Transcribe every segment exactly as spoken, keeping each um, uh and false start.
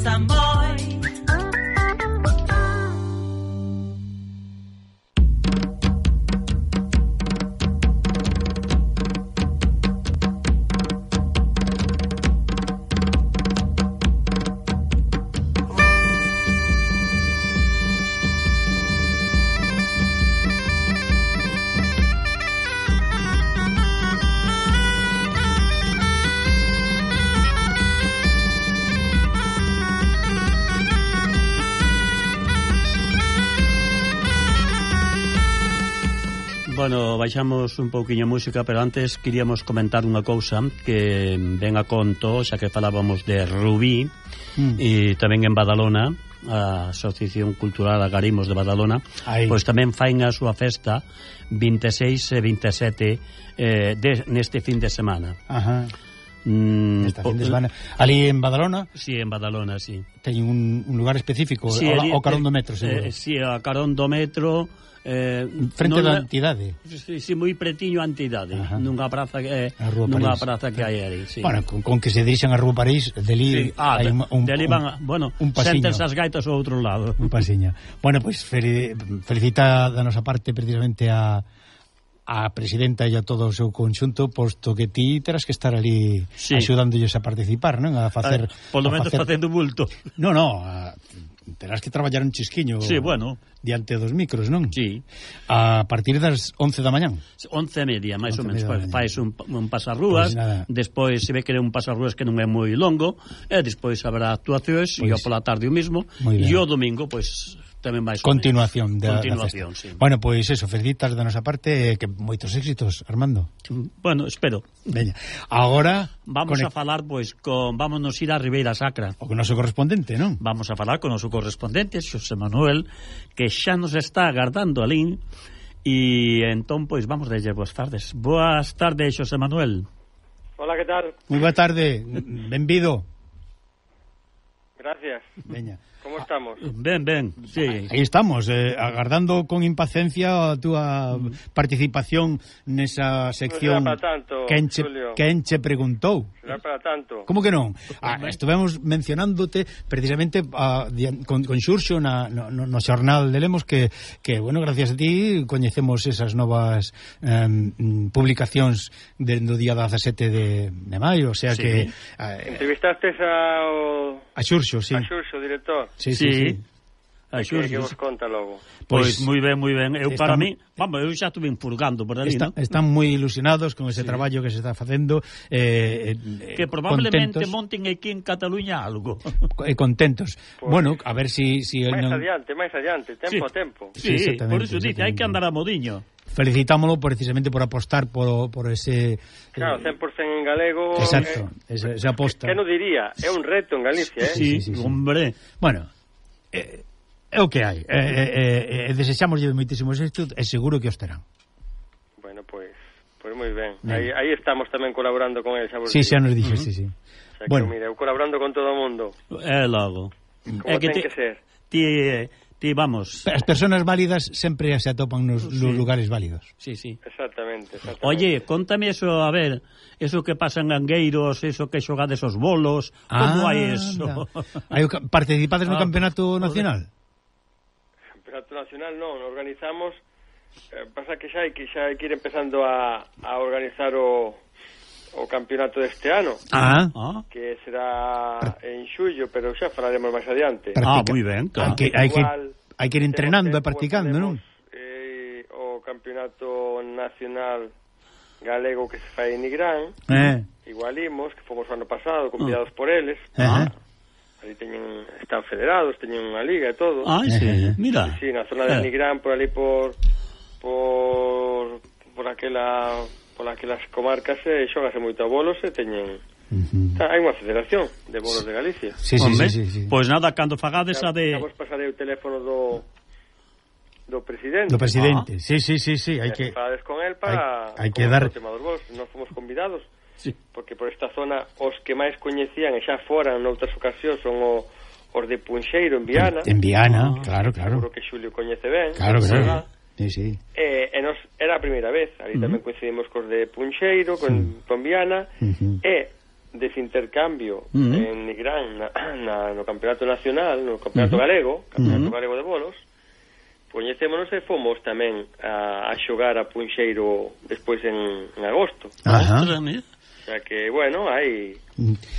Samboy. Bueno, baixamos un pouquiño música, pero antes queríamos comentar unha cousa que ven a conto, xa que falábamos de Rubí, mm. e tamén en Badalona, a Asociación Cultural Agarimos de Badalona, Aí. pois tamén fain a súa festa vinte e seis e vinte e sete eh, de, neste fin de semana. Ajá. Mm, Esta fin de semana. Ali en Badalona? Sí, en Badalona, sí. Ten un, un lugar específico, sí, o, o carón do metro, seguro. Eh, sí, a carón do metro. Eh, frente da entidade. Si, si, moi pretiño a entidade, Ajá. nunha praza que eh, nunha praza que hai aí, sí. Bueno, con, con que se dirixan a Rúa París, deli sí. ah, hai un, un, deli van, un, bueno, un senten as gaitas ao outro lado. Un pasiño. Bueno, pois pues, felicita da nosa parte precisamente a a presidenta e a todo o seu conxunto, posto que ti terás que estar ali sí. axudándolles a participar, non? A facer, ah, por lo menos facer... facendo bulto. No, no, a... terás que traballar un chisquiño sí, bueno. diante dos micros, non? Sí. A partir das once da mañán. Once e media, máis ou menos. Fais un, un pasarrúas, pues despois se ve que é un pasarrúas que non é moi longo, e despois habrá actuacións, pues, e pola tarde o mismo, e o domingo, pois... Pues, tamén máis continuación da, continuación, da sí. Bueno, pois pues eso, felicitas da nosa parte, que moitos éxitos, Armando. Bueno, espero. Veña. Agora vamos conect... a falar pois pues, con vámonos ir a Ribeira Sacra. O con o noso correspondente, non? Vamos a falar con o noso correspondente, Xosé Manuel, que xa nos está agardando alín. E entón, pois, vamos a dizer boas tardes. Boas tardes, Xosé Manuel. Hola, que tal? Moi boa tarde, benvido. Gracias. Veña. ¿Cómo estamos? Ben, ben, sí. Aí estamos, eh, agardando con impaciencia a túa mm. participación nesa sección. Non será para tanto, quen che, Julio. Quen che preguntou? Será para tanto. Como que non? Ah, estivemos mencionándote precisamente a, con, con Xurxo na, no, no xornal de Lemos que, que, bueno, gracias a ti coñecemos esas novas um, publicacións do día dezasete de, de maio, o sea sí. que... Eh, Entrevistastes ao... A Xurxo, sí. A Xurxo, director. Sí, sí, sí. A que, que vos conta logo? Pois pues, moi ben, moi ben. Eu están, para mí, vamos, eu xa estuve furgando por ali, está, ¿no? Están moi ilusionados con ese sí. traballo que se está facendo, eh, eh, que probablemente contentos. Monten aquí en Cataluña algo. E contentos. Pues, bueno, a ver si si máis non... adiante, máis adiante, tempo sí. a tempo. Sí, sí por eso dice, hai que andar a modiño. Felicitámolo precisamente por apostar por, por ese... Claro, cen por cento en galego... Exacto, eh, esa, esa aposta. Que non diría, é un reto en Galicia, eh? Sí, sí, sí, sí. Hombre. Bueno, eh, é o que hai. Eh, eh, eh, desexamos moitísimos éxitos e seguro que os terán. Bueno, pois pues, pues moi ben. Aí, aí estamos tamén colaborando con el, xa vos Sí, digo. xa nos dixes, uh -huh. sí, sí. O sea, bueno. Que, mira, eu colaborando con todo o mundo. É logo. Como é que ten te, que ser. Ti... Ti, vamos. As persoas válidas sempre se atopan nos, sí. nos lugares válidos. Sí, sí. Exactamente, exactamente. Oye, contame eso, a ver, eso que pasa en Angueiros, eso que xogades os bolos, como ah, hai eso? Hai participades no ah, campeonato nacional? Campeonato nacional non, organizamos, eh, pasa que xa hai que xa hai que ir empezando a, a organizar o o campeonato deste ano, ah. que será en xullo, pero xa falaremos máis adiante. Ah, moi ben, claro. Hai que, hai que, hai que ir entrenando e practicando, non? Eh, o campeonato nacional galego que se fai en Nigrán, eh. igualimos, que fomos o ano pasado, convidados oh. por eles. Ah. Ali teñen, están federados, teñen unha liga e todo. Ah, sí, mira. Sí, sí, na zona de eh. Nigrán, por ali por por por aquela por aquelas comarcas e xógase moito a bolos e teñen uh -huh. hai unha federación de bolos de Galicia. Sí, sí, sí, sí, sí. Pois pues nada, cando fagades a de... Vamos pasarei o teléfono do do presidente. Do presidente, ah. sí, sí, sí, sí, hai que fagades con el para hai, hai que dar o tema dos bolos, nós fomos convidados. Sí. Porque por esta zona os que máis coñecían e xa foran noutras ocasións son o, os de Punxeiro en Viana. En, en Viana, ah. claro, claro. Seguro que Xulio coñece ben. Claro, claro. Sí, sí. Eh, e nos, era a primeira vez, ali uh -huh. tamén coincidimos cos de Punxeiro, con, sí. con Viana, uh -huh. e dese intercambio uh -huh. en Nigrán na, na, no campeonato nacional, no campeonato uh -huh. galego, campeonato uh -huh. galego de bolos, coñecémonos e fomos tamén a, a xogar a Punxeiro despois en, en agosto. Ajá. O sea que, bueno, hai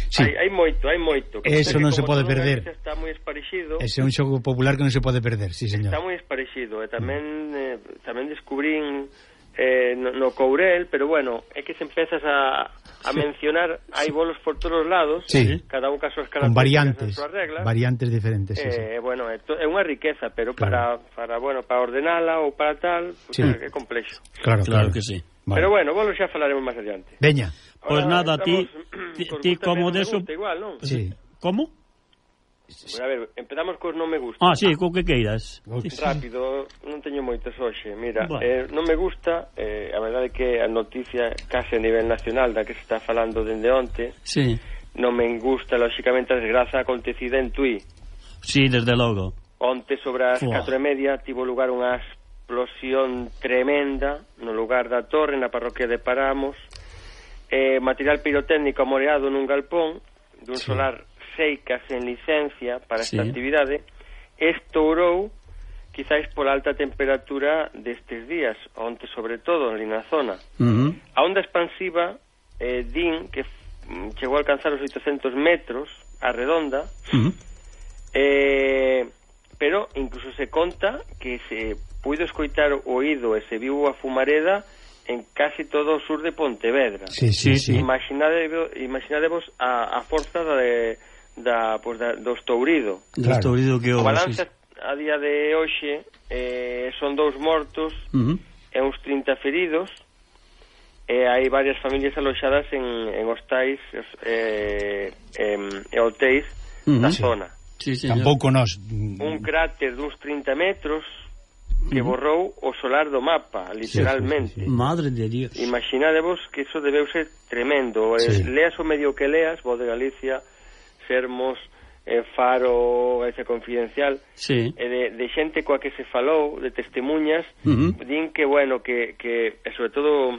sí. hai, hai moito, hai moito. Que eso non se pode perder. Está moi esparexido. Ese é un xogo popular que non se pode perder, sí, señor. Está moi esparexido, e tamén eh, tamén descubrín eh, no, no Courel, pero bueno, é que se empezas a, a sí. mencionar, hai bolos por todos os lados, sí. cada un caso con variantes, variantes diferentes, sí, eh, sí. bueno, é, to, é unha riqueza, pero claro. para, para, bueno, para ordenala ou para tal, pues, sí. é complexo. Claro, claro, claro que sí. Vale. Pero bueno, bolos xa falaremos máis adiante. Veña. Pois pues nada, ti, ti, ti como deso... Igual, non? Sí. Como? Pues a ver, empezamos cos non me gusta. Ah, sí, co que queiras. Rápido, non teño moitos hoxe. Mira, bueno. eh, non me gusta, eh, a verdade é que a noticia case a nivel nacional da que se está falando dende onte, sí. non me gusta, lóxicamente, a desgraza acontecida en Tui. Sí, desde logo. Onte, sobre as catro e media, tivo lugar unha explosión tremenda no lugar da torre, na parroquia de Paramos, eh, material pirotécnico amoreado nun galpón dun sí. solar Seicas en licencia para esta sí. actividade, estourou quizáis pola alta temperatura destes días, onte sobre todo ali na zona. Uh -huh. A onda expansiva eh, din que chegou a alcanzar os oitocentos metros a redonda, uh -huh. eh, pero incluso se conta que se puido escoitar o oído e se viu a fumareda en casi todo o sur de Pontevedra. Sí, sí, sí. Imaginadevos, imaginadevos a, a forza de, da, pues da, do estourido. Claro. Estourido que o balance sí. a día de hoxe eh, son dous mortos uh -huh. e uns trinta feridos, e hai varias familias aloxadas en, en hostais eh, e hotéis uh -huh. da zona. Sí, tampouco nós. Un cráter duns trinta metros que borrou o solar do mapa, literalmente. Sí, sí, sí. Madre de Dios. Imaginadevos que iso debeu ser tremendo. Sí. Eh, leas o medio que leas, Voz de Galicia, Sermos, eh, Faro, Galicia Confidencial, sí. eh, de, de xente coa que se falou, de testemunhas, uh -huh. din que, bueno, que, que sobre todo,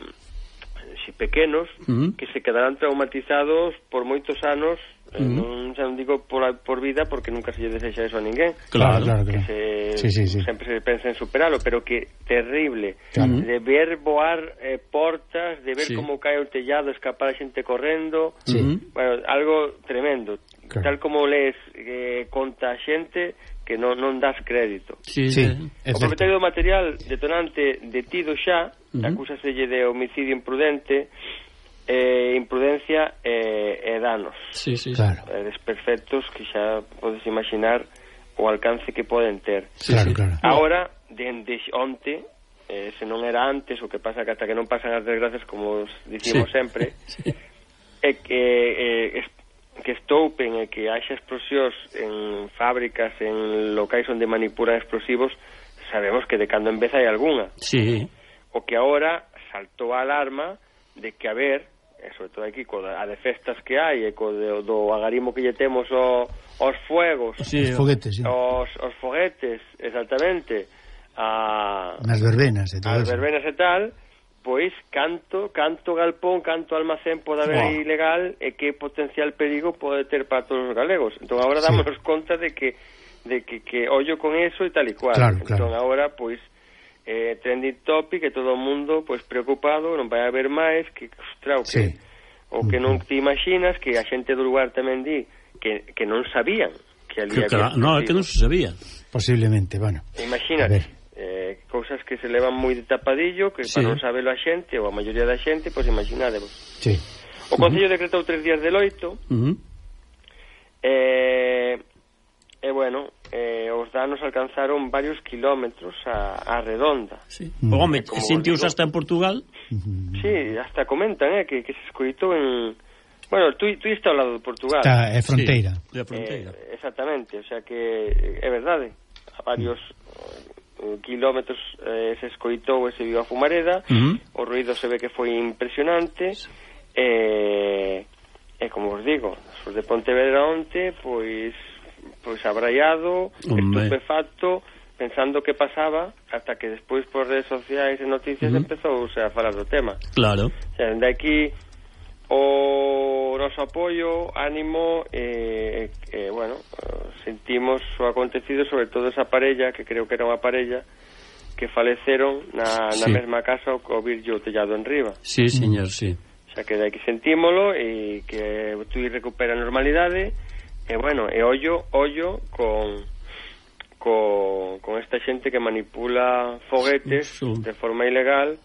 si pequenos, uh -huh. que se quedarán traumatizados por moitos anos. Uh -huh. Non, non digo por, por vida porque nunca se lle desexa eso a ninguén, claro, claro, claro. Se, sí, sí, sí. sempre se pensa en superalo, pero que terrible, claro. de ver voar eh, portas, de ver sí. como cae o tellado, escapar a xente correndo, sí. bueno, algo tremendo, claro. tal como lees eh, conta a xente que non, non das crédito. Sí, sí, o propietario do material detonante detido xa, uh -huh. acúsaselle de homicidio imprudente, eh, imprudencia e eh, eh, danos, sí, sí, claro. eh, desperfectos que xa podes imaginar o alcance que poden ter. Sí, claro, claro. Ahora, dende onte, eh, se non era antes, o que pasa que ata que non pasan as desgracias, como dicimos sí. sempre, sí. é que eh, que estoupen e que haxa explosións en fábricas, en locais onde manipulan explosivos, sabemos que de cando en vez hai algunha. Sí. O que agora saltou a alarma de que, a ver, e sobre todo aquí, co a de festas que hai, e co de, do agarimo que lle temos o, os fuegos, sí, os foguetes, sí. os, os foguetes, exactamente, a, nas verbenas e todo as verbenas e tal, pois canto, canto galpón, canto almacén pode haber oh. ilegal e que potencial perigo pode ter para todos os galegos. Entón agora dámonos sí. conta de que de que, que ollo con eso e tal e cual. Claro, entón claro. agora, pois, eh, trending topic, que todo o mundo pois preocupado, non vai haber máis, que, ostras, o que, sí. o que non te imaginas, que a xente do lugar tamén di que, que non sabían que ali que, había... No, é que non se sabía. Posiblemente, bueno. Imagínate, eh, cousas que se levan moi de tapadillo, que sí. para non sabelo a xente, ou a maioría da xente, pois imaginádevos. Sí. O Concello uh -huh. decretou tres días de loito, uh -huh. eh... E, bueno, eh, os danos alcanzaron varios kilómetros a, a redonda. Sí. Mm. Home, sentius hasta en Portugal? Sí, hasta comentan, eh, que, que se escoitou en... Bueno, tú, tú está ao lado de Portugal. Está, é fronteira. Sí, é fronteira. Eh, exactamente, o sea que é verdade. A varios mm. kilómetros eh, se escoitou e se viu a fumareda, mm -hmm. o ruido se ve que foi impresionante, sí. e, e como os digo, os de Pontevedra onte, pois... pois abraiado, estupefacto, pensando que pasaba, hasta que despois por redes sociais e noticias uh -huh. empezou a falar do tema. Claro. O sea, de aquí o nos noso apoio, ánimo e, e, bueno, sentimos o acontecido, sobre todo esa parella, que creo que era unha parella, que faleceron na, na sí. mesma casa ao virlle o tellado en riba. Sí, señor, sí. O sea, que de aquí sentímolo e que tú recupera a normalidade e, bueno, e ollo, ollo con... Con, con esta xente que manipula foguetes uh, de forma ilegal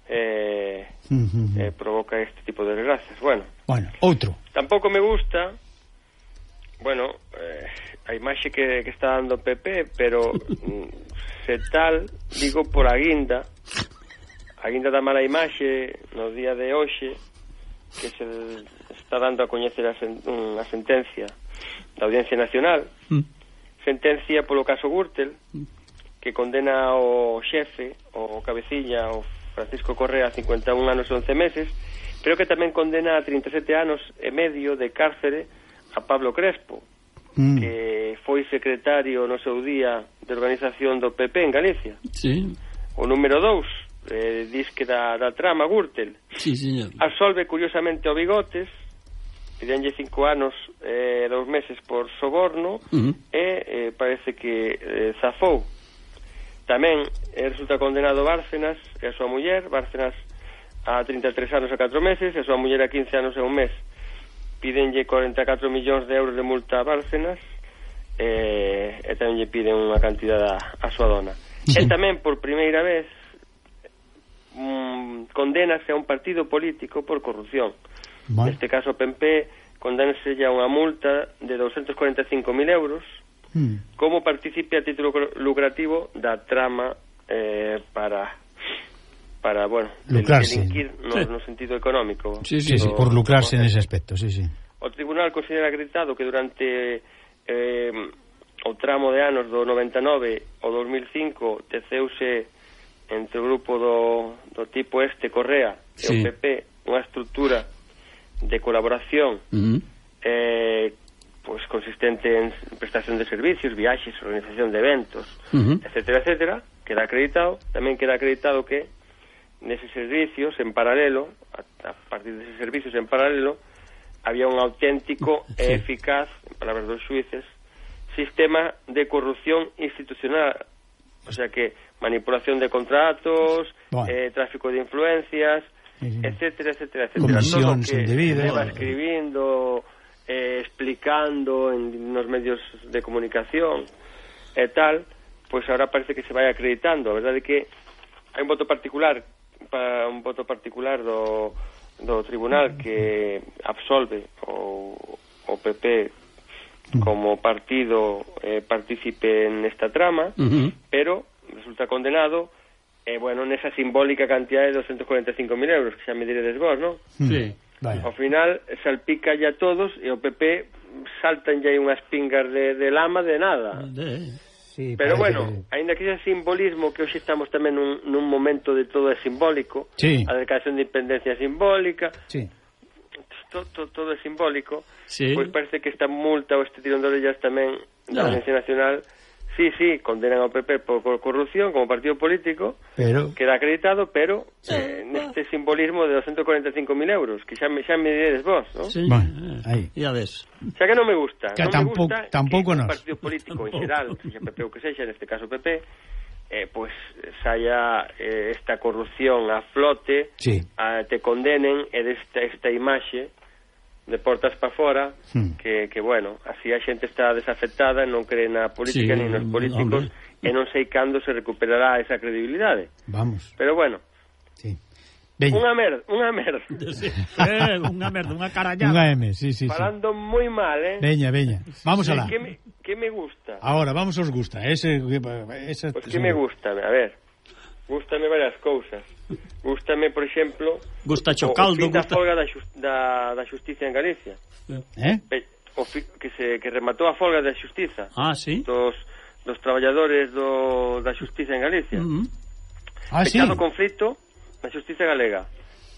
e eh, uh-huh. eh, provoca este tipo de desgracias. Bueno, bueno, outro. Tampouco me gusta, bueno, eh, a imaxe que, que está dando P P, pero se tal, digo por a guinda, a guinda da mala imaxe no día de hoxe, que se está dando a coñecer a, sen, a sentencia da Audiencia Nacional, mm. sentencia polo caso Gürtel, que condena o xefe, o cabecilla, o Francisco Correa, a cincuenta e un anos e once meses, pero que tamén condena a trinta e sete anos e medio de cárcere a Pablo Crespo, mm. que foi secretario no seu día de organización do P P en Galicia. Sí. O número dous, eh, disque da, da trama Gürtel. Sí, señor. Absolve curiosamente o Bigotes, pidenlle cinco anos e eh, dous meses por soborno, uh-huh. e eh, parece que eh, zafou. Tamén eh, resulta condenado Bárcenas e a súa muller, Bárcenas a trinta e tres anos e catro meses, e a súa muller a quince anos e un mes. Pidenlle cuarenta e catro millóns de euros de multa a Bárcenas, e, e tamén lle piden unha cantidad a, a súa dona. Sí. E tamén, por primeira vez, mm, condenase a un partido político por corrupción. Vale. Neste caso, P M P condenase ya unha multa de doscientos cuarenta e cinco mil euros mm. como participe a título lucrativo da trama eh, para, para bueno, lucrarse. Delinquir no, sí. no sentido económico. Sí, sí, sí, por lucrarse en ese aspecto, sí, sí. O tribunal considera acreditado que durante eh, o tramo de anos do noventa e nove ao dos mil cinco teceuse entre o grupo do, do tipo este Correa e sí. o P P unha estrutura de colaboración uh-huh. eh, pues consistente en prestación de servicios, viaxes, organización de eventos, uh-huh. etcétera, etcétera, queda acreditado. Tamén queda acreditado que neses servicios en paralelo, a, a partir deses servicios en paralelo, había un auténtico sí. e eficaz, en palabras dos xuíces, sistema de corrupción institucional, o sea que manipulación de contratos, bueno. eh, tráfico de influencias, sí. etcétera, etcétera, etcétera. Todo que se va escribindo, eh, explicando en nos medios de comunicación e tal, pois pues ahora parece que se vai acreditando. A verdade é que hai un voto particular para un voto particular do, do tribunal que absolve o, o P P como partido eh, partícipe nesta trama, uh-huh. pero resulta condenado e, eh, bueno, nesa simbólica cantidad de doscientos cuarenta e cinco mil euros, que xa me diredes vos, non? Sí. Vale. Ao final salpica ya todos e o P P saltan ya unhas pingas de, de lama de nada. De... Sí, pero bueno, que... ainda que ese simbolismo que hoxe estamos tamén nun, nun momento de todo é simbólico, sí. a declaración de independencia simbólica, sí. todo, todo, todo é simbólico, sí. pois parece que esta multa ou este tirón de orellas tamén da Audiencia Nacional, sí, sí, condenan ao P P por, por corrupción como partido político, pero... queda acreditado, pero eh, neste simbolismo de doscientos cuarenta e cinco mil euros, que xa me, xa me diredes vos, ¿no? Sí, bueno, aí. Ya ves. Xa que non me gusta, que non tampoco, me gusta tampouco que nos. un partido político en xeral, sexa P P ou que sexa, neste caso P P, eh, pues saia eh, esta corrupción a flote, sí. a, te condenen e desta esta imaxe de portas para fora, hmm. que, que, bueno, así a xente está desafectada, non cree na política, sí, ni nos políticos, hombre. E non sei cando se recuperará esa credibilidade. Vamos. Pero, bueno, sí. Unha merda, unha merda. Sí. Eh, unha merda, unha carallada. Unha M, sí, sí, falando sí. moi mal, eh. Veña, veña. Vamos sí, alá. Que me, que me gusta? Ahora, vamos os gusta. Ese, esa, pues que me gusta, a ver. Gústame varias cousas. Gústame, por exemplo, gusta Chocaldo, o, o fin da gusta... folga da, just, da, da Xustiza en Galicia. Eh? O fi, que se que rematou a folga da Xustiza. Ah, sí. Dos dos traballadores do da Xustiza en Galicia. Uh-huh. Ah, Pechado sí. conflito na Xustiza galega.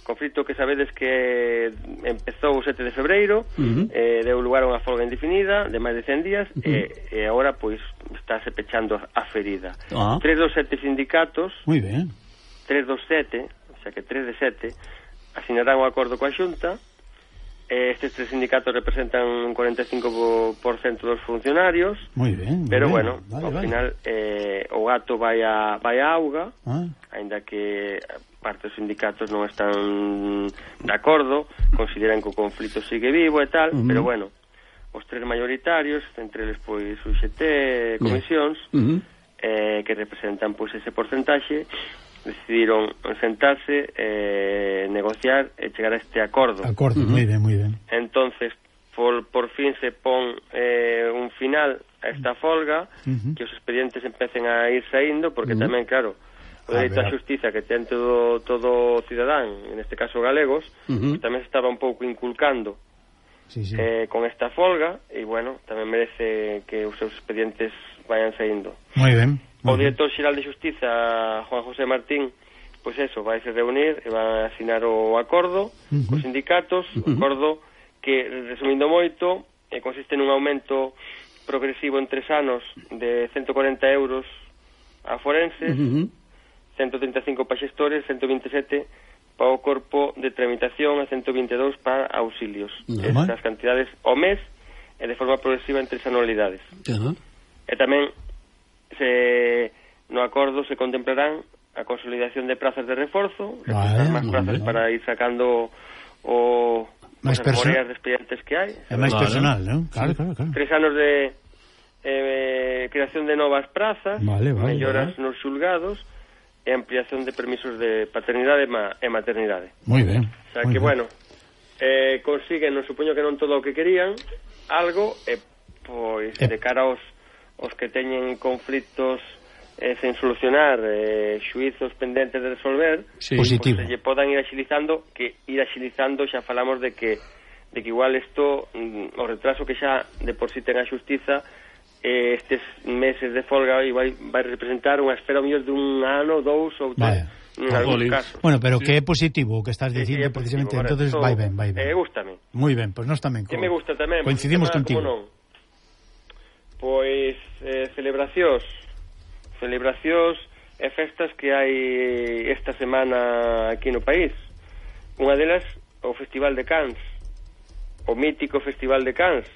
Conflito que sabedes que empezou o sete de febreiro, uh-huh. eh, deu lugar a unha folga indefinida de máis de cen días, uh-huh. e, e agora pois estáse pechando a ferida. Ah. Tres dos sete sindicatos, moi ben, tres dos sete, o sea que tres de sete, asinarán un acordo coa Xunta Eh, estes tres sindicatos representan un cuarenta e cinco por ciento dos funcionarios. Moi ben, moi pero ben. bueno, vale, ao vale. final eh, o gato vai a, vai a auga, ah. aínda que parte dos sindicatos non están de acordo, consideran que o conflito sigue vivo e tal, uh -huh. pero bueno, os tres mayoritarios, entre eles pois U X T, comisións, uh -huh. eh, que representan pois ese porcentaxe, decidiron sentarse, eh, negociar e chegar a este acordo. Acordo, uh -huh. moi ben, moi ben. Entonces, por, por fin se pon eh, un final a esta folga, uh -huh. que os expedientes empecen a ir saindo, porque uh -huh. tamén, claro, o dereito á xustiza que ten todo, todo cidadán, en este caso galegos, uh -huh. pues tamén se estaba un pouco inculcando sí, sí. Eh, con esta folga, e, bueno, tamén merece que os seus expedientes vayan saindo. Moi ben. O director xeral de Xustiza, Juan José Martín, pois eso, vai se reunir e vai a asinar o acordo uh -huh. cos sindicatos, uh -huh. acordo que, resumindo moito, eh, consiste nun aumento progresivo en tres anos de ciento cuarenta euros a forenses, uh -huh. ciento treinta e cinco para xestores, ciento vinte e sete para o corpo de tramitación e ciento vinte e dous para auxilios. Uh -huh. Estas cantidades ao mes e de forma progresiva en tres anualidades. Uh -huh. E tamén se no acordo se contemplarán a consolidación de plazas de reforzo, vale, máis plazas vale. Para ir sacando o as memorias de expedientes que hai. É máis vale. Personal, non? Claro, claro, claro. Tres anos de eh, creación de novas plazas, vale, vale, melloras vale. nos xulgados e ampliación de permisos de paternidade e maternidade. Moi ben. O sea que, ben. bueno, eh, consiguen, non supoño que non todo o que querían, algo, e pois eh. de cara aos os que teñen conflitos eh, sen solucionar, eh, xuizos pendentes de resolver, sí. Positivo. Pues, se lle podan ir axilizando, que ir axilizando xa falamos de que de que igual isto, mm, o retraso que xa de por si ten a xustiza, eh, estes meses de folga vai, vai representar unha espera mellor de un ano, dous ou tres, en algúns casos. Bueno, pero sí. Que é positivo o que estás dicindo, sí, precisamente, positivo, entonces vai ben, vai ben. Eh, gústame. Moi ben, pois pues nós tamén. Que me gusta tamén. Coincidimos contigo. Non? Pois eh, celebracións celebracións e festas que hai esta semana aquí no país. Unha delas, o Festival de Cans, o mítico Festival de Cans,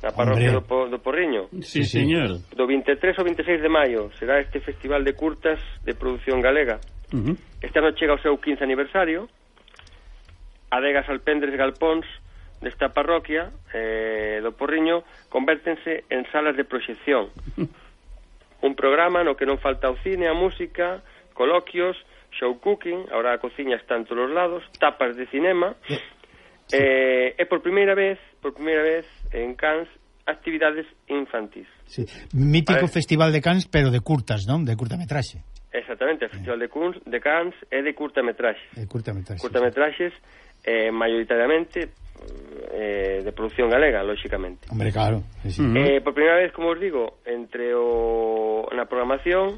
na parroquia do, do Porriño. Sí, sí, señor. Do vinte e tres ao vinte e seis de maio será este festival de curtas de produción galega. Uh -huh. Este ano chega o seu quince aniversario. Adegas, alpendres, galpóns desta parroquia eh, do Porriño convértense en salas de proxección. Un programa no que non falta o cine, a música, coloquios, show cooking, ahora a cociña está en todos os lados, tapas de cinema, sí. eh, e por primeira vez, por primeira vez en Cans, actividades infantís. Sí. Mítico festival de Cans, pero de curtas, non? De curtametraxe. Exactamente, o festival de, Cans, de Cans é de curtametraxe. De curtametraxe. Curtametraxes, eh, maioritariamente eh, de producción galega, lóxicamente. Hombre, claro. Sí, sí. Eh, por primeira vez, como os digo, entre o na programación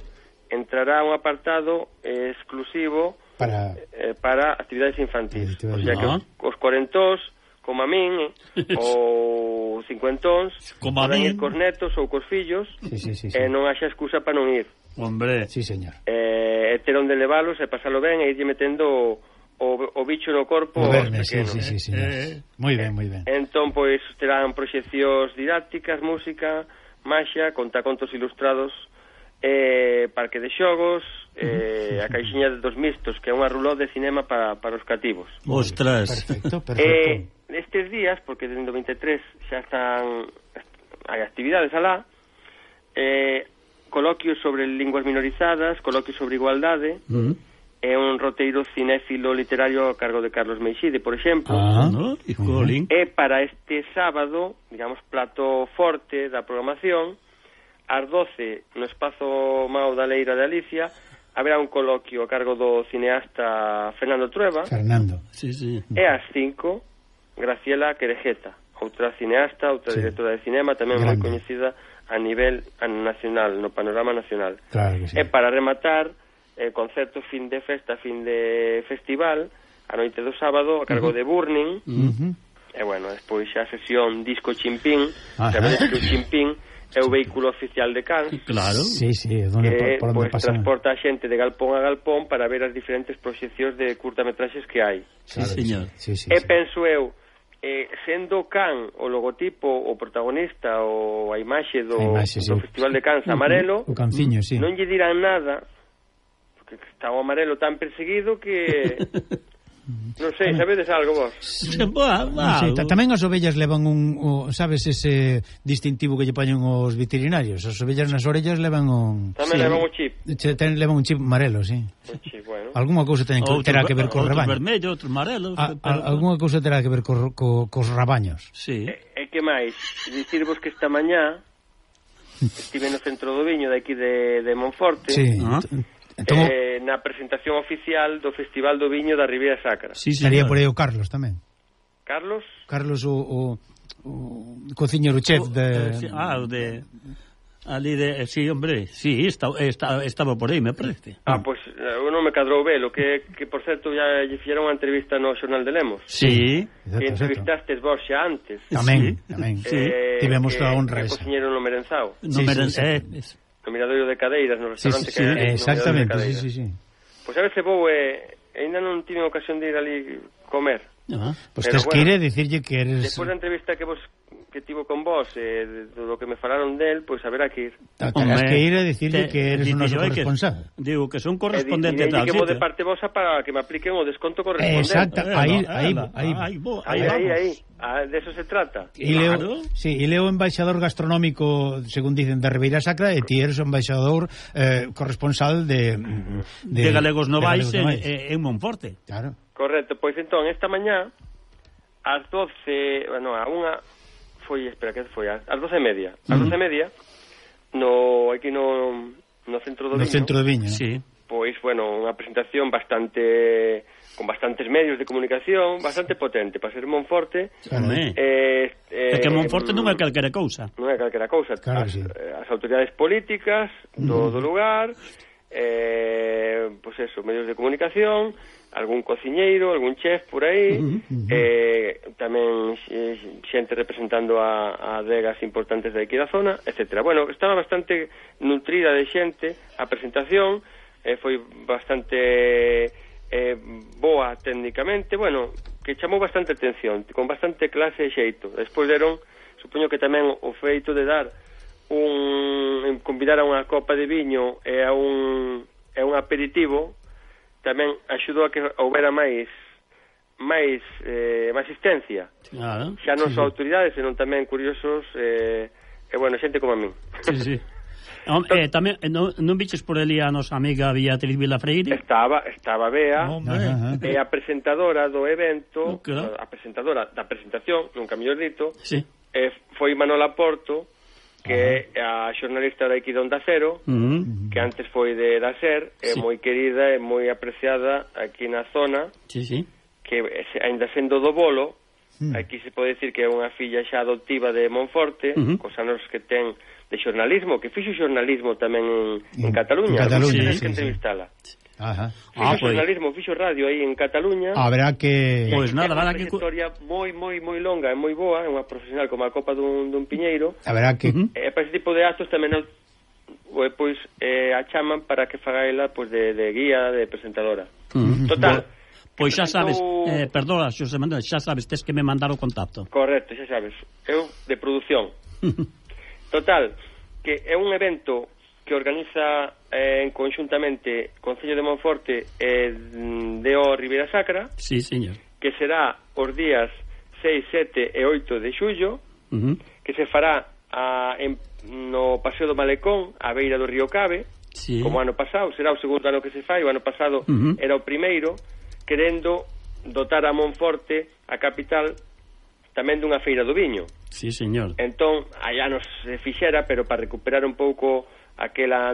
entrará un apartado eh, exclusivo para eh, para actividades infantis. Actividades. O sea que Ah. os, os cuarentóns, como a min, eh, ou cincuentóns, como a poden min, ir cos netos ou cos fillos, sí, sí, sí, sí. e eh, non haxa excusa para non ir. Hombre. Sí, señor. Eh, ter onde leválos e pasalo ben e irlle metendo o, o bicho no corpo Verne, pequeno. sí, sí, sí, sí. Eh, moi ben, moi ben. Entón, pois, terán proxeccións didácticas, música, maxia, contacontos ilustrados, eh, parque de xogos, eh, a caixiña dos mistos, que é unha ruló de cinema para, para os cativos. Ostras. Perfecto, perfecto. Eh, estes días, porque desde o vinte e tres xa están hai actividades alá, eh, coloquios sobre linguas minorizadas, coloquios sobre igualdade, Uh -huh. é un roteiro cinéfilo literario a cargo de Carlos Meixide, por exemplo. Ah, ¿no? E Colin. E para este sábado, digamos, plato forte da programación, ás doce, no espazo Mao da Leira de Alicia, haberá un coloquio a cargo do cineasta Fernando Trueba. Fernando. Sí, sí. E ás cinco, Graciela Querejeta, outra cineasta, outra Sí. directora de cinema, tamén moi coñecida a nivel nacional, no panorama nacional. Claro que sí. E para rematar, eh, concerto fin de festa, fin de festival, a noite do sábado, a cargo uh -huh. de Burning, uh -huh. e bueno, despois xa a sesión Disco Chimpín, Ajá. sabedes que o Chimpín é o vehículo oficial de Cans, Claro. Sí, sí, donde, que por, por onde pues, pasa. transporta a xente de galpón a galpón para ver as diferentes proxeccións de curtametraxes que hai. Sí, señor. Sí, sí, E sí. penso eu eh, sendo Can o logotipo, o protagonista, o a imaxe do, a imaxe, do sí. Festival de Cans amarelo, o canciño, sí. non lle dirán nada, porque está o amarelo tan perseguido que... Non sei, sabedes algo vos? Boa, non sei, tamén as ovellas levan un, o, sabes, ese distintivo que lle poñen os veterinarios. As ovellas nas orellas levan un... Tamén sí. levan un chip. Che, ten, levan un chip amarelo, sí. Un chip, bueno. Alguma cousa ten que, terá que ver co rebaño. Outros vermello, outros amarelos. A, a, alguma cousa terá que ver co, co, cos rabaños. Sí. E, e que máis? Dicirvos que esta mañá estive no centro do Viño de aquí de, de Monforte. Sí. Ah. Entón, eh, na presentación oficial do Festival do Viño da Ribeira Sacra. Sí, estaría por aí o Carlos tamén. Carlos? Carlos o, o, o cociñero chef de... Eh, sí, ah, o de... Ali de... Sí, hombre, sí, está, está, estaba por aí, me parece. Ah, pois pues, eu non me cadrou velo, que, que por certo ya lle fixeron unha entrevista no Xornal de Lemos. Sí. Exacto, que entrevistastes vos xa antes. Tamén, sí. tamén. Sí. Eh, Tivemos que, toda a honra que esa. cociñero no Merenzao. No Sí, me sí, sí. eh, No Miradoiro de Cadeiras, no Sí, restaurante sí, que sí, hai. exactamente, sí, sí, sí. Pois a veces vou e eh, ainda non tive ocasión de ir ali comer. Ah. Pois Pero tes bueno, que ir e dicirlle que eres... Despois da entrevista que vos que tivo con vos e eh, do que me falaron del, pois haberá que ir. Terás que ir e dicirlle te, que eres o noso digo, corresponsal. Que, digo que son E correspondente di, tal que vou sitio. de parte vosa para que me apliquen o desconto correspondente. Exacto, Eh, aí, no, aí, ela, aí, aí, bo- Aí, aí aí, vamos. aí. Ah, de eso se trata. E Leo, Claro. sí, e Leo embaixador gastronómico, según dicen, da Ribeira Sacra, e ti eres o embaixador eh, corresponsal de, de, De Galegos Novais de Galegos en, en Monforte. Claro. Correcto, pois entón, esta mañá ás doce, bueno, a unha foi, espera, que foi? Ás doce e media. Ás Uh-huh. doce e media, no, aquí no, no centro do No Viño, centro de Viño, ¿no? Sí. pois, bueno, unha presentación bastante, con bastantes medios de comunicación, bastante potente, para ser Monforte. Home. Eh, eh, É que Monforte non é calquera cousa. Non é calquera cousa. Claro as, que sí. as autoridades políticas do, do lugar, eh, pois pues eso, medios de comunicación, algún cociñeiro, algún chef por aí, Uh -huh. eh, tamén eh, xente representando a, a adegas importantes de aquí da zona, etcétera. Bueno, estaba bastante nutrida de xente a presentación, eh, foi bastante eh, boa técnicamente, bueno, que chamou bastante atención, con bastante clase e xeito. Despois deron, supoño que tamén o feito de dar un convidar a unha copa de viño e a un e un aperitivo tamén axudou a que houbera máis máis eh, máis asistencia. Claro. Xa non só autoridades, senón tamén curiosos eh, e bueno, xente como a min. Sí, sí. Home, eh, tamén eh, non, non viches por ali a nosa amiga Beatriz Vilafreire? Estaba, estaba Bea, Hombre. Ajá, ajá. e a presentadora do evento, Claro. a presentadora da presentación, nunca mellor dito, Sí. eh, foi Manola Porto, que é a xornalista da aquí de Onda Cero, Uh -huh. que antes foi de da SER, é Sí. moi querida e moi apreciada aquí na zona, Sí, sí. que ainda sendo do bolo, Mm. aquí se pode decir que é unha filla xa adoptiva de Monforte, Uh -huh. cos anos que ten de xornalismo, que fixo xornalismo tamén en, en En Cataluña, Cataluña, tens sí, que sí. entrevistala. Ajá. Fixo Ah, pues. xornalismo, fixo radio aí en Cataluña. Habrá que... Pois nada, É van unha a que... trayectoria moi, moi, moi longa e moi boa, é unha profesional como a copa dun, dun piñeiro, Habrá que... Uh -huh. e para ese tipo de actos tamén o, pois, eh, a chaman para que faga ela pois, de, de guía, de presentadora. Uh -huh. Total, Pois xa sabes, presentou- eh, perdona, Xosé Manuel, xa sabes, tes que me mandar o contacto. Correcto, xa sabes, eu de produción. Total, que é un evento que organiza eh, en conjuntamente Concello de Monforte e de o Ribeira Sacra, Sí, señor. que será os días seis, sete e oito de xullo, Uh -huh. que se fará a, en, no Paseo do Malecón, a beira do río Cabe, Sí. como ano pasado, será o segundo ano que se fai, o ano pasado Uh -huh. era o primeiro, querendo dotar a Monforte, a capital, tamén dunha feira do viño. Sí, señor. Entón, allá nos se fixera, pero para recuperar un pouco aquela,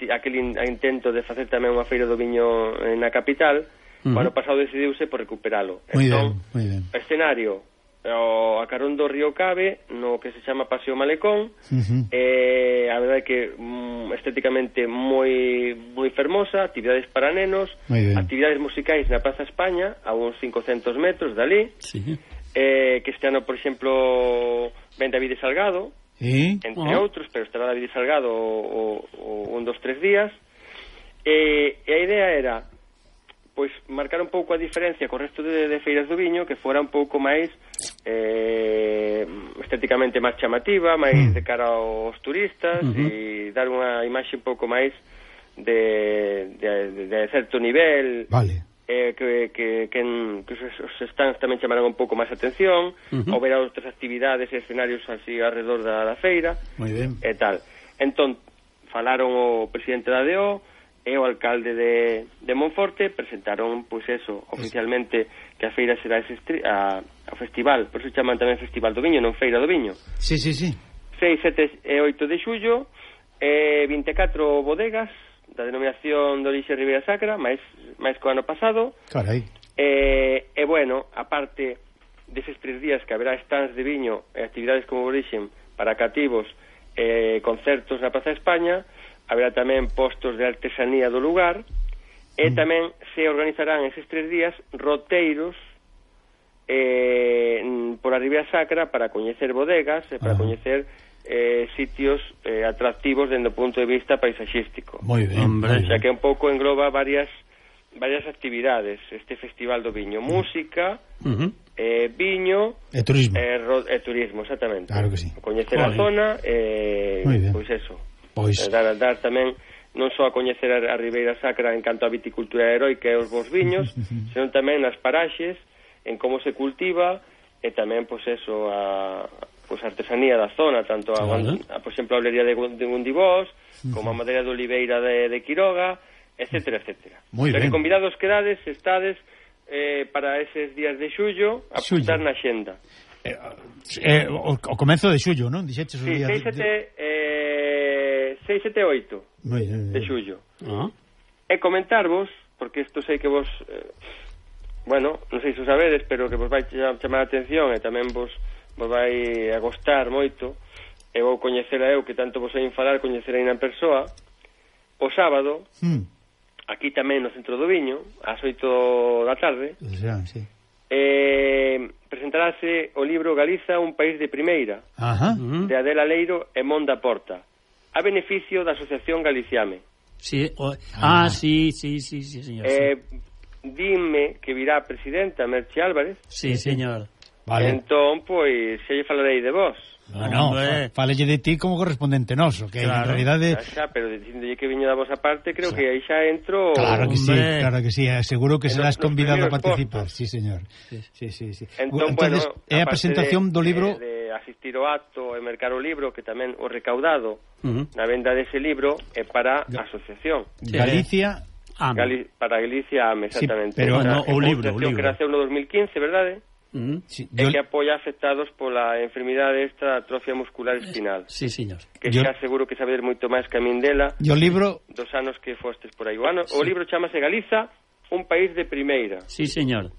aquel in, intento de facer tamén unha feira do viño na capital, Uh -huh. o ano pasado decidiuse por recuperalo. Muy entón, ben, muy ben. escenario, o a carón do río Cabe, no que se chama Paseo Malecón, Uh -huh. eh, a verdade que mm, estéticamente moi moi fermosa, actividades para nenos, Moi ben. actividades musicais na Praza España, a uns cincocentos metros dali, Sí. eh, que este ano, por exemplo, ven David Salgado, ¿Eh? entre Oh. outros, pero estará David Salgado o, o, o un, dos, tres días, e, e a idea era pois marcar un pouco a diferencia co resto de, de feiras do viño, que fora un pouco máis eh, estéticamente máis chamativa, máis mm. de cara aos turistas uh-huh. e dar unha imaxe un pouco máis de, de, de certo nivel, vale. eh, que, que, que, en, que os stands tamén chamarán un pouco máis atención, uh-huh. ou verá outras actividades e escenarios así alrededor da, da feira, moi ben. E tal. Entón, falaron o presidente da D O e o alcalde de, de Monforte, presentaron, pois eso, oficialmente, que a feira será ese a, a festival, por eso chaman tamén Festival do Viño, non Feira do Viño. Sí, sí, sí. seis, sete e oito de xullo, e vinte e catro bodegas da denominación de orixe Ribeira Sacra, máis, máis co ano pasado. Carai. E, e bueno, aparte deses tres días que haberá stands de viño e actividades como orixen para cativos e concertos na Praza de España, haberá tamén postos de artesanía do lugar e mm. tamén se organizarán eses tres días roteiros eh, por a Ribeira Sacra para coñecer bodegas e para ah. coñecer eh, sitios eh, atractivos dende o punto de vista paisaxístico. Moi ben, hombre. O sea que un pouco engloba varias varias actividades este Festival do Viño, música, uh-huh. eh, viño e turismo. E, ro, e turismo, exactamente. Claro que sí. Coñecer vale. a zona e eh, pois eso. Pois. Dar, dar tamén non só a coñecer a, a Ribeira Sacra en canto a viticultura heroica e os bons viños, senón tamén nas paraxes, en como se cultiva e tamén, pois eso, a, pois, a artesanía da zona, tanto a, vale. a, a por exemplo, a olería de, de Gundibós, uh-huh. como a madeira de oliveira de, de Quiroga, etcétera, etcétera. Moi ben. Convidados quedades, estades eh, para eses días de xullo a apuntar na xenda. Eh, eh, o, o comenzo de xullo, non? Dixeches o sí, día seis, sete, de... eh, seis, sete, oito de xullo. Uh-huh. E comentarvos, porque isto sei que vos eh, bueno, non sei se o sabedes, pero que vos vai chamar a atención e tamén vos, vos vai a gostar moito, e vou coñecer a eu que tanto vos hai falar, coñecer aí na persoa. O sábado mm. aquí tamén no Centro do Viño, ás oito da tarde, xa, sí. eh, presentarase o libro Galiza, un país de primeira, Ajá. de Adela Leiro e Monda Porta, a beneficio da Asociación Galiciame. Sí, o... ah, ah, sí, sí, sí, sí, señor. Eh, sí. Dime que virá a presidenta Merche Álvarez. Sí, señor. Vale. Entón, pois, xa lle falarei de vos. No, no, falelle de ti como correspondente noso, que claro. En realidade... Xa, xa, pero dicíndolle que viño da vosa parte, creo xa. Que aí xa entro... Claro que Hombre. sí, claro que sí, seguro que serás convidado a participar. Sí, señor. Sí, sí, sí. sí. Entón, Entonces, bueno, é a presentación de, do libro... De, de asistir ao acto e mercar o libro, que tamén o recaudado uh-huh. na venda dese libro é para a asociación. Galicia... Ame. Gali, para Galicia Ame, exactamente. Sí, pero no, o libro, o libro. Que naceu no dos mil quince, verdade? Mm, sí, e yo... que apoia afectados pola enfermidade esta atrofia muscular espinal. Sí, señor. Que yo... xa seguro que sabedes moito máis que a min dela. E o libro... Dos anos que fostes por aí. O, ano, sí. o libro chamase Galiza, un país de primeira. Sí, señor.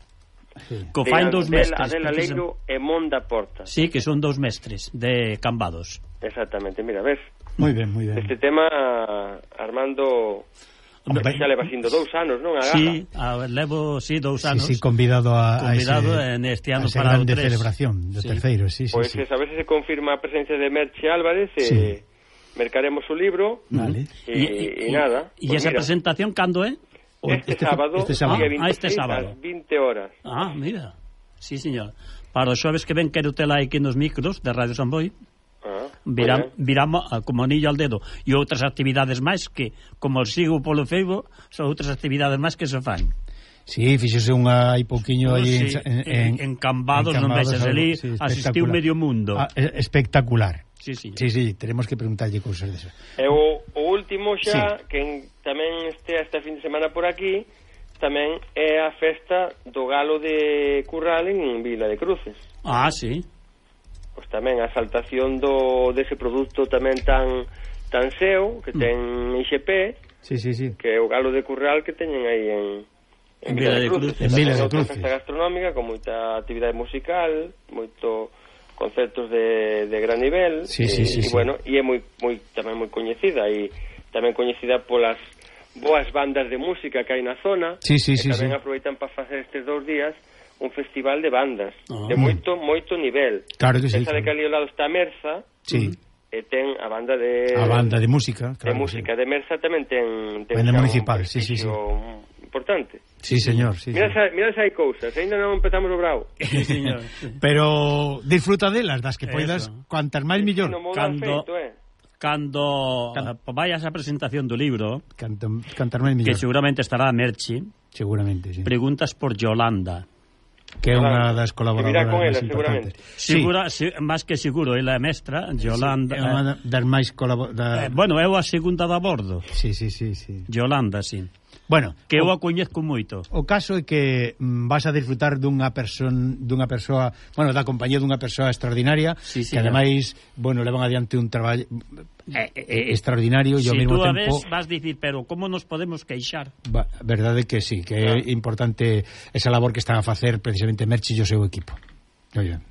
Sí. Co fain dos mestres. Adela Leiro e Monda Porta. Sí, que son dous mestres de Cambados. Exactamente, mira, ves? Moi ben, moi ben. Este tema, Armando... Hombre, xa leva sindo dous anos, non? A sí, a, levo, sí, dous anos. Sí, sí, convidado a, convidado a ese, neste ano a ese para grande o tres. Celebración do sí. terceiro, sí, sí. Pois sí. a veces se confirma a presencia de Merche Álvarez e sí. mercaremos o libro. Vale. E, e, e nada. E pues esa mira, presentación cando é? Este, este sábado, este sábado. día veintiséis, ah, este sábado. ás vinte horas. Ah, mira. Sí, señor. Para os xoves que ven quero tela aquí nos micros de Radio Samboy. Viramos, viramos como anillo al dedo. E outras actividades máis que, como sigo polo Facebook, son outras actividades máis que se fan. Sí, fíxose unha hai pouquiño oh, aí sí, en, en, en Cambados, non vexas ali, sí, asistiu medio mundo. Ah, espectacular. Sí, sí. Sí, sí, tenemos que preguntarlle cousas desas. E o, o último xa, sí. que en, tamén este este fin de semana por aquí, tamén é a festa do galo de Curral en Vila de Cruces. Ah, sí. Pois tamén a exaltación do dese produto tamén tan tan seu que ten I X P, sí, sí, sí. que é o galo de Curral que teñen aí en en Vila de Cruces, en Vila de Cruces. Festa gastronómica con moita actividade musical, moito concertos de, de gran nivel, sí, e, sí, sí, e sí. bueno, e é moi moi tamén moi coñecida e tamén coñecida polas boas bandas de música que hai na zona, sí, sí, que sí, tamén sí. aproveitan para facer estes dous días un festival de bandas oh. de moito, moito nivel. Claro que sí. Pensa de que ali ao lado está Merza, sí. e ten a banda de... A banda de música, claro. De música, sí. de Merza tamén ten... ten banda un municipal, sí, sí, sí. importante. Sí, señor, sí. Mira, sí. mira se hai cousas, ainda non empezamos o bravo. Sí, señor. Pero disfruta delas, das que poidas, cuantas máis millor. Cando, feito, eh? cando Can... vayas a presentación do libro, Canto, cantar máis millor. Que seguramente estará a Merchi. Seguramente, sí. Preguntas por Yolanda, que é unha das colaboradoras con ela, máis importantes. Segura, sí. se, máis que seguro, ela é mestra, Yolanda. Sí, é unha das máis colaboradoras. Eh, bueno, é a segunda da bordo. Sí, sí, sí, sí. Yolanda, sí. Bueno, que eu o, a coñezco moito. O caso é que mm, vas a disfrutar dunha person, dunha persoa, bueno, da compañía dunha persoa extraordinaria, sí, sí, que ademais, bueno, levan adiante un traballo eh, eh, extraordinario e ao si mesmo tú a tempo ves, vas dicir, pero como nos podemos queixar? Va, verdade que sí, que claro. É importante esa labor que están a facer precisamente Merchi e o seu equipo. Oye.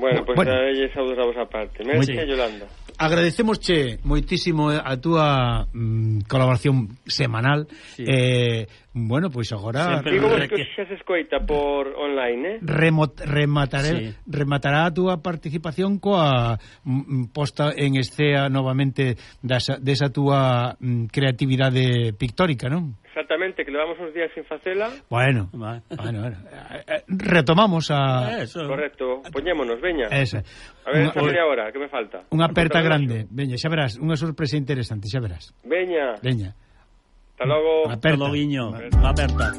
Bueno, pois pues bueno. A ella saúdos a vosa parte. Merchi e Yolanda. Agradecemosche moitísimo a túa mm, colaboración semanal. Sí. Eh, bueno, pois agora digo vos que xa se escoita por online, eh? Remot, remataré, sí. Rematará a túa participación coa mm, posta en escena novamente desa, desa túa mm, creatividade pictórica, non? Exactamente, que levamos uns días sin facela. Bueno, bueno, bueno. Retomamos a... Eso. Correcto, poñémonos, veña. Esa. A ver, una, esta media hora, que me falta? Unha aperta grande, veña, xa verás, unha sorpresa interesante, xa verás. Veña. Veña. Hasta logo. Aperta. Hasta logo, guiño. Aperta.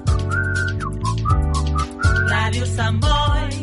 Radio Samboy.